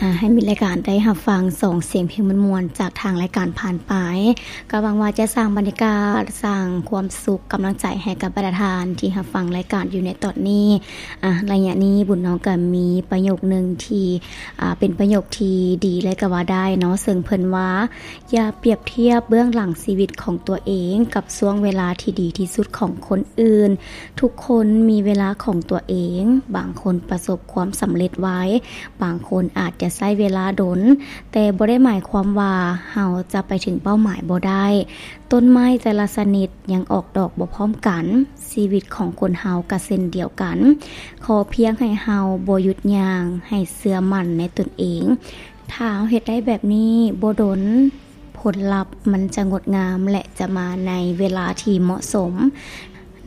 ອ່າ ໃຫ້ມີລາຍການໄດ້ຮັບຟັງສອງສຽງເພງມ່ວນໆ ຈາກທາງລາຍການຜ່ານໄປ ກໍຫວັງວ່າຈະສ້າງບັນຍາກາດ, ສ້າງຄວາມສຸກ, ກຳລັງໃຈໃຫ້ກັບບັນດາທ່ານທີ່ຮັບຟັງລາຍການຢູ່ໃນຕອນນີ້. ອ່າ ໄລຍະນີ້ບຸນນ້ອງກໍມີປະໂຫຍກໜຶ່ງທີ່ ອ່າ ເປັນປະໂຫຍກທີ່ດີເລີຍກໍວ່າໄດ້ເນາະ, ເຊິ່ງເພິ່ນວ່າ ຢ່າປຽບທຽບເບື້ອງຫຼັງຊີວິດຂອງຕົວເອງກັບຊ່ວງເວລາທີ່ດີທີ່ສຸດຂອງຄົນອື່ນ. ທຸກຄົນມີເວລາຂອງຕົວເອງ, ບາງຄົນປະສົບຄວາມສຳເລັດໄວ, ບາງຄົນອາດຈະໃຊ້ເວລາດົນ, ແຕ່ບໍ່ໄດ້ໝາຍຄວາມວ່າເຮົາຈະໄປເຖິງເປົ້າໝາຍບໍ່ໄດ້. ຕົ້ນໄມ້ແຕ່ລະຊະນິດຍັງອອກດອກບໍ່ພ້ອມກັນ, ຊີວິດຂອງຄົນເຮົາກໍເຊັ່ນດຽວກັນ. ຂໍພຽງໃຫ້ເຮົາບໍ່ຢຸດຍ່າງ, ໃຫ້ເຊື່ອໝັ້ນໃນຕົນເອງ. ຖ້າເຮົາເຮັດໄດ້ແບບນີ້, ບໍ່ດົນ ຜົນລັບມັນຈະງົດງາມ ແລະ ຈະມາໃນເວລາທີ່ເໝາະສົມ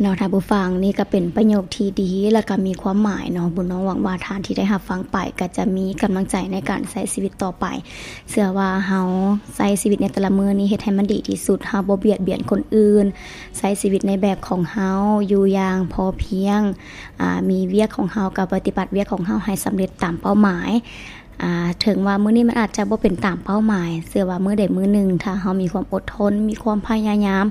ເນາະທ່ານຜູ້ຟັງ. ນີ້ກໍເປັນປະໂຫຍກທີ່ດີ ແລະ ກໍມີຄວາມໝາຍເນາະ. ບຸນນ້ອງຫວັງວ່າທ່ານທີ່ໄດ້ຮັບຟັງໄປ ກໍຈະມີກຳລັງໃຈໃນການໃຊ້ຊີວິດຕໍ່ໄປ. ເຊື່ອວ່າເຮົາໃຊ້ຊີວິດໃນແຕ່ລະມື້ນີ້ ເຮັດໃຫ້ມັນດີທີ່ສຸດ, ເຮົາບໍ່ບຽດບຽນຄົນອື່ນ, ໃຊ້ຊີວິດໃນແບບຂອງເຮົາ, ຢູ່ຢ່າງພໍພຽງ, ອາ, ມີວຽກຂອງເຮົາກໍປະຕິບັດວຽກຂອງເຮົາໃຫ້ສຳເລັດຕາມເປົ້າໝາຍ. ອາ ເຖິງວ່າມື້ນີ້ມັນອາດຈະບໍ່ເປັນຕາມເປົ້າໝາຍ, ເຊື່ອວ່າມື້ໃດມື້ໜຶ່ງ ຖ້າເຮົາມີຄວາມອົດທົນ, ມີຄວາມພະຍາຍາມ,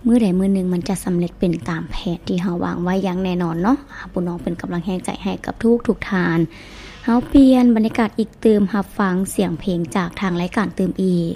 ມື້ໃດມື້ໜຶ່ງມັນຈະສຳເລັດເປັນຕາມແຜນທີ່ເຮົາວາງໄວ້ຢ່າງແນ່ນອນເນາະ. ອາ ບຸນນ້ອງເປັນກຳລັງແຮງໃຈໃຫ້ກັບທຸກໆທ່ານ. ເຮົາປ່ຽນບັນຍາກາດອີກຕື່ມ, ຮັບຟັງສຽງເພງຈາກທາງລາຍການຕື່ມອີກ.